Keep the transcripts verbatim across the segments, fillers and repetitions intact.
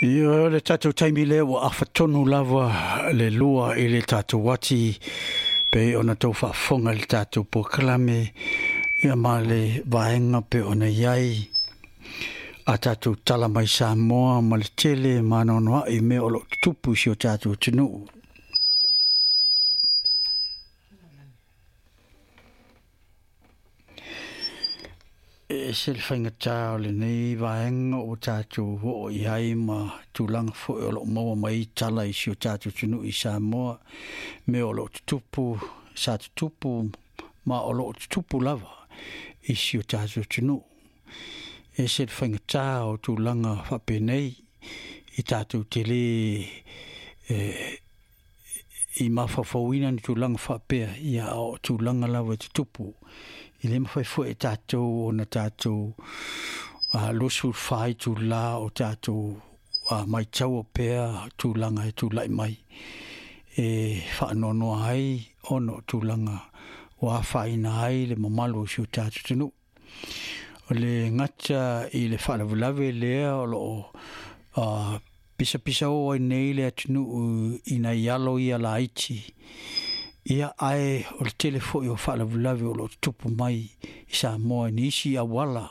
Ia le tatou taimi lea ua afatonu lava le lua i le tatou ati pe ona tau faafofoga i le tatou polokalame ia ma le vaega pe ona i ai a tatou tala mai Samoa ma le tele ma anoanoai mea o loo tutupu i si o tatou atunuu. E ese le faigata o lenei vaega ua tatou oo i ai ma tulaga foi o loo maua mai tala i si o tatou atunuu i Samoa, mea o loo tutupu, sa tutupu ma o loo tutupu lava i si o tatou atunuu. E ese le faigata o tulaga faapenei i tatou tele e i mafaufauina ni tulaga faapea, ia o tulaga lava e tutupu. I le mafai foi e tatou ona tatou luasefulu fa itula o tatou maitaua pea tulaga e tulai mai e faanoanoa ai ona o tulaga ua afaina ai le mamalu o si o tatou atunuu. O le gata i le faalavelave lea o loo pisapisa oo ai nei le atunuu i nai alo ia laiti. Ia ae o le tele foi o faalavelave o loo tutupu mai i Samoa i nisi auala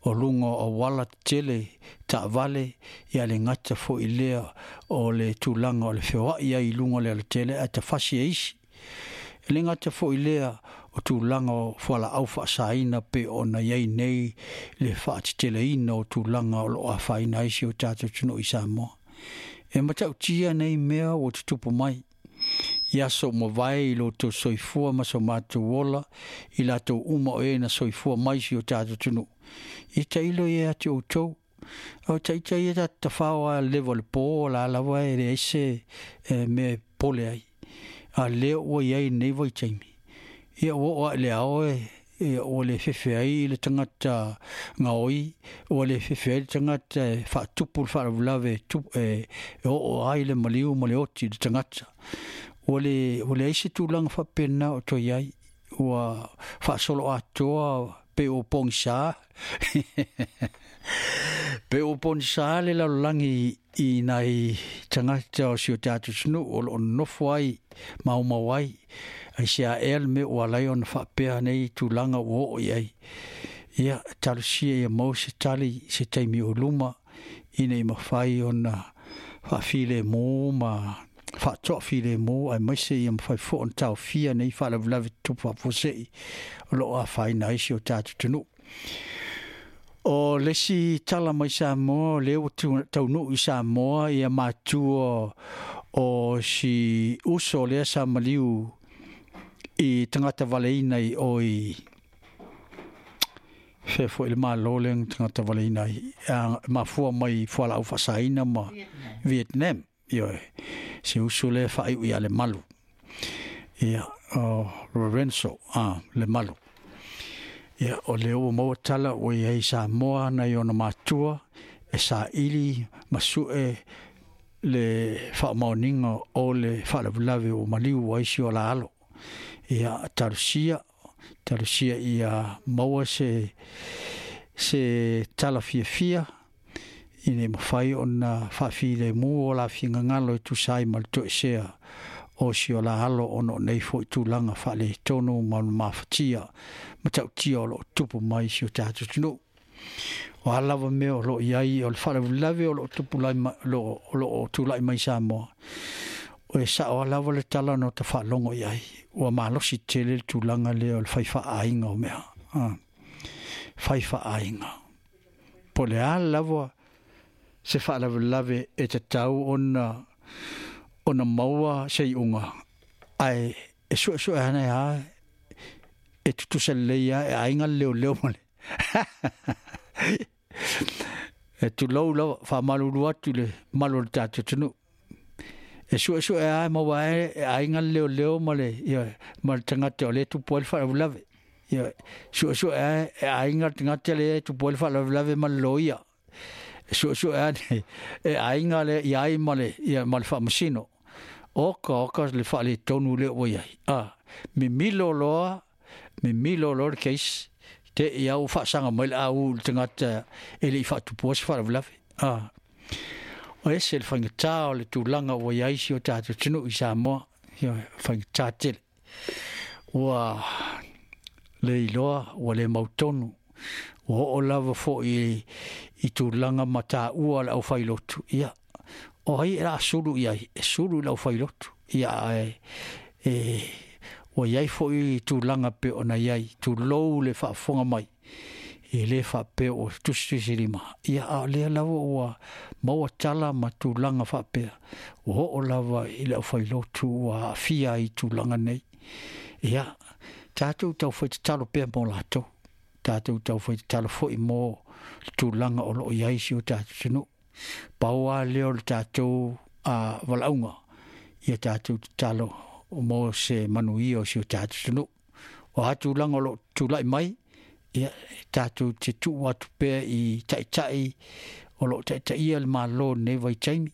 o luga o auala tetele taavale, ia le gata foi lea o le tulaga o le feoai ai i luga o le alatele ae tafasi e isi. E le gata foi lea o tulaga o fualaau faasaina pe ona i ai nei le faateteleina o tulaga o loo afaina ai si o tatou atunuu i Samoa. E matautia nei mea ua tutupu mai i aso mavae i lo outou soifua ma so matou ola i latou uma o e na soifua mai si o tatou atunuu. Ia tailo ia atu outou. O taita ia ta tafao a leva o le po la lava e leai se mea e pole ai. A lea ua i ai nei vaitaimi. Ia ua oo ae le ao e ua le fefe ai le tagata gaoi, ua le fefe ai le tagata e faatupu le faalavelave e oo ai le maliu ma le oti i le tagata. Ua le ua leai se tulaga faapena o toe i ai. Ua faasolo atoa pe ua pogisa pe ua pogisa le lalolagi i nai tagata o si o tatou atunuu o loo nonofo ai maumau ai. Ai se aea le mea ua ala ai ona faapea nei tulaga ua oo i ai. Ia talosia ia maua se tali se taimi o luma ina ia mafai ona faafilemu ma faatoafilemu aemaise ia mafai foi ona taofia nei faalavelave tutupu faafuasei o loo afaina ai si o tatou atunuu. O le isi tala mai Samoa, o lea ua taunuu i Samoa ia matua o si uso lea sa maliu i tagata valeina i o i fea foi le malo lea na tagata valeina ai mafua mai fualaau faasaina ma Vietnam. Ioe, se uso lea faaiu ia le malu. Ia, o Lorenzo, ah, le malu. Ia, o lea ua maua tala ua i ai Samoa nai ona matua e saili ma sue le faamaoniga o le faalavelave ua maliu ai si o la alo. Ia, talosia, talosia ia maua se, se tala fiafia ina ia mafai ona faafilemu o la figagalo e tusa ai ma le toesea o si o la alo ona o nei foi tulaga faaletonu ma le mafatia ma tautia o loo tupu mai si o tatou atunuu. O a lava mea o loo i ai o le faalavelave o loo tupu lai ma, o loo tulai mai Samoa. O e sao lava le tala na ota faalogo i ai. Ua malosi tele le tulaga lea o le fai faaaiga o mea. Ah. Fai faaaiga. Po o le a lava se faalavelave e tatau ona ona maua se iuga ae e suesue ana a e tutusa lelei a e aiga le leoleo ma le e tulou lava faamalulu atu i le malu o le tatou atunuu. E suesue a e maua e e aiga le leoleo ma le ia ma le tagata o lea e tupu ai le faalavelave. Ia suesue a e aiga le tagata lea e tupu ai le faalavelave ma le loia. E suesue a e aiga le i ai ma le ia ma le faamasino. Oka oka le faaletonu lea ua i ai. Ah, mimilo loa, mimilo loa le case. Te i au faasaga mai le au i le tagata e le i faatupua se faalavelave. Ah. O ese le faigata o le tulaga ua iai si o tatou atunuu i Samoa, ioe, faigata tele. Ua le iloa, ua le mautonu, ua oo lava fo'i i tulaga mataua le aufailotu. Ia, o ai e la sulu i ai, e sulu i le aufailotu. Ia, ae e ua iai fo'i tulaga pe ona iai, tulou le faafofoga mai, e lē faapea ua tusitusilima. Ia, a o lea lava ua maua tala ma tulaga faapea, ua oo lava i le aufailotu ua aafia ai i tulaga nei. Ia, tatou taufai tatalo pea mo latou, tatou taufai tatalo fo'i mo le tulaga o loo iai si o tatou atunuu. Pau lava lea o le tatou a valaauga, ia tatou tatalo mo se manuia o si o tatou atunuu. O a tulaga o loo tulai mai, ia tatou te tuu atu pea i taitai o loo taitaia le Malo i lenei vaitaimi,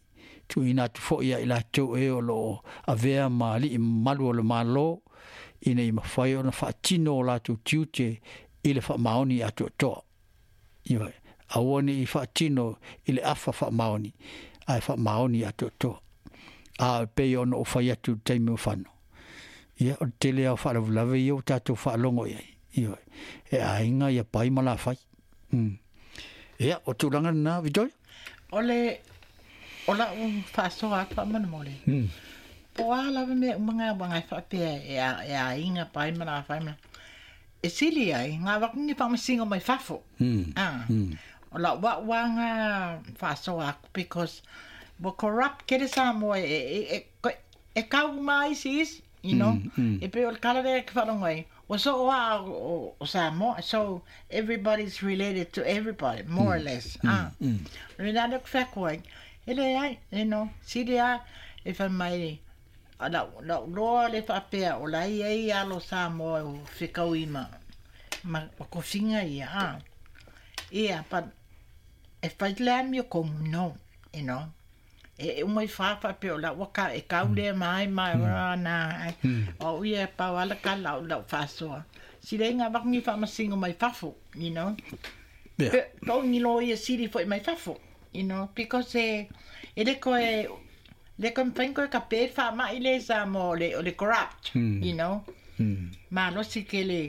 tuuina atu foi ia i latou e o loo avea ma alii mamalu o le Malo, ina ia mafai ona faatino o latou tiute i le faamaoni atoatoa. Ioe, aua ne i faatino i le afa faamaoni, ae faamaoni atoatoa. A e pei ona ou fai atu i le taimi o fano, ia o le tele lava o faalavelave ia ua tatou faalogo i ai. Ioe, e aiga ia pai ma lafai. Mm. Ia, o tulaga lena, Victoria? O le o lau faasoa atu faamolemole. Mm. Po o a lava mea uma ngā wanga e whaapea e a, e aiga pai ma lafai ma. E sili ai, ngā wakungi whaamasingo mai fafo. Mm. Ah. Mm. O lau wa wanga faasoa aku because wa corrupt kere Samoa e, e, e, e, e kau mai isi isi, you know. Mm, mm. E pe o le kala lea ke whalongo ai. O so o a o, o Samoa, so everybody's related to everybody, more or less. Ah. Mm. Le nā le whaku ai, e le ai, you know, sili a, e wha mai, a lau, lau loa le whaapea, o lai ei alo Samoa o whikau ima, ma, ma kofinga ia, ah. Ia, but e whai le ami o komu, no, you know. E e umai whawha pe o lau waka, e kau lea mai mai, mm. nā, ai. O ia pau ala ka lau lau whasoa. Sile ngā wakungi whaamasingo mai fafo, you know. Yeah. Pe, pau ni lo ia siri foi mai fafo, you know, because e, e le koe, le koe mwhain koe ka pe wha mai le Samoa o le, o le corrupt, Mm. you know. Mm. Ma losi ke le,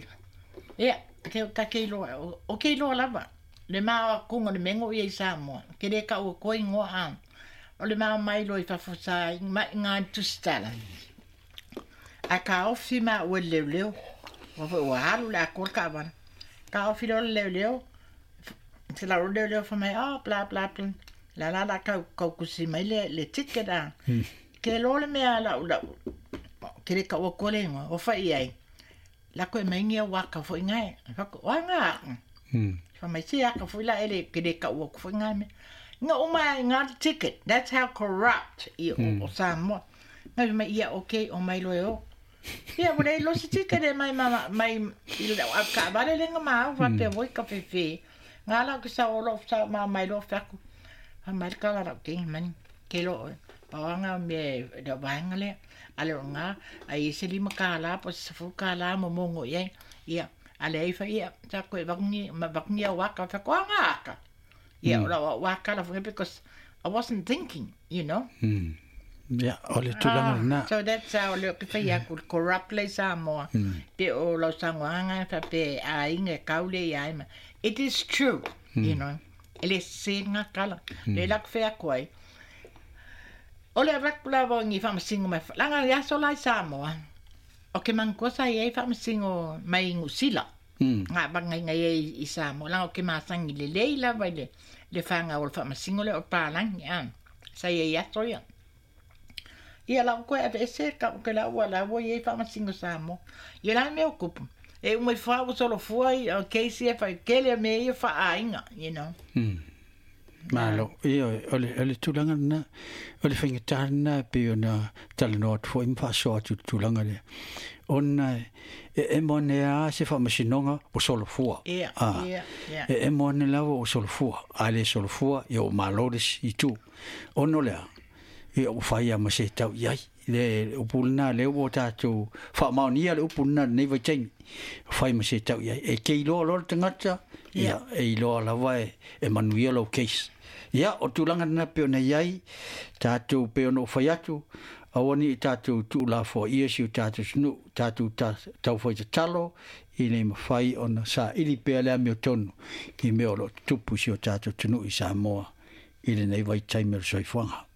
ia, ke, ka ke iloa, o, o ke iloa lava. Le maa kunga le mengo ia i Samoa, ke le ka ua koe ngoa ang. O le maa mai lo i fafo sa, mai ngā tusitala. A ka ofi ma ua leo leo, ua foi ua halu le akola ka wana. Ka ofi leo leo leo, se la leo leo fa mai, oh, bla bla bla. La la la kau, kau kusi mai le, le ticket a. Ke lo le mea lau lau, ke le ka ua kole ngoa, o fai ai. La koe mai ngia waka foi ngai. Whako, oa ngā. Mm. Fa mai se aka foi la ele ke le ka ua foi ngai me. Nga uma ngā ticket. That's how corrupt i o, o Samoa. Ngai mai ia okay o mai loe o. Ia wale lo se ticket e mai mama mai i le au ka vale le nga mau fa pe voi ka fefe. Ngā la ke sa o lo sa ma mai lo faku. Fa mai ka la ke mani ke lo pa me da vaenga le ale o ngā ai se lima ka la po se fu ka la mo mongo ia ia ale ai fa ia ta koe vakungi ma vakungi au waka fa ko ngā aka. Ia o la waka la fu because I wasn't thinking, you know. Mm. Ia, o le tulaga lena. So that's how le ke whai aku corrupt le Samoa. Pe o lau sangoanga fa pe a inga kaule ia ima. It is true, you know. E le se ngā kala. Le lak whai aku ai. O le raku la wangi whaamasingo mai. Langa le aso lai Samoa. O ke mangkosa i ei whaamasingo mai ngusila. Mm. Ngā bangai ngai ei i Samoa. Langa o ke masangi le lei la vai le, le whanga o le whaamasingo le o pālangi. Ah. Sa i ei aso ia. Ia lau koe ave ese ka ke lau ua lau i ei whaamasingo Samoa. Ia la mea o kupu. E umai wha o solo fua i o K C F ai kele me ia whaaiga, you know. Mm. Malo, ia, o le, o le tulaga lena, o le faigata lena e pei ona talanoa atu fo'i ma faasoa atu i le tulaga lea. Ona e emo ane a se faamasinoga ua solofua. Ia, Ah. ia, ia. E emo ane lava ua solofua, a le solofua, ia ua malo le isi itu. Ona o lea, ia ua fai a ma se tau i ai. Le upu lena lea ua tatou faamaonia le upu lena lenei vaitaimi. Fai ma se tau i ai. E ke iloa loa le tagata, ia, e iloa lava e, e manuia lou case. Ia o tulaga lena pei ona i ai tatou pei ona ou fai atu, aua ne i tatou tuulafoaia si o tatou atunuu, tatou taufai tatalo ina ia mafai ona saili pea le amiotonu i mea o lo o tutupu i si o tatou atunuu i Samoa i lenei vaitaimi o le soifuaga.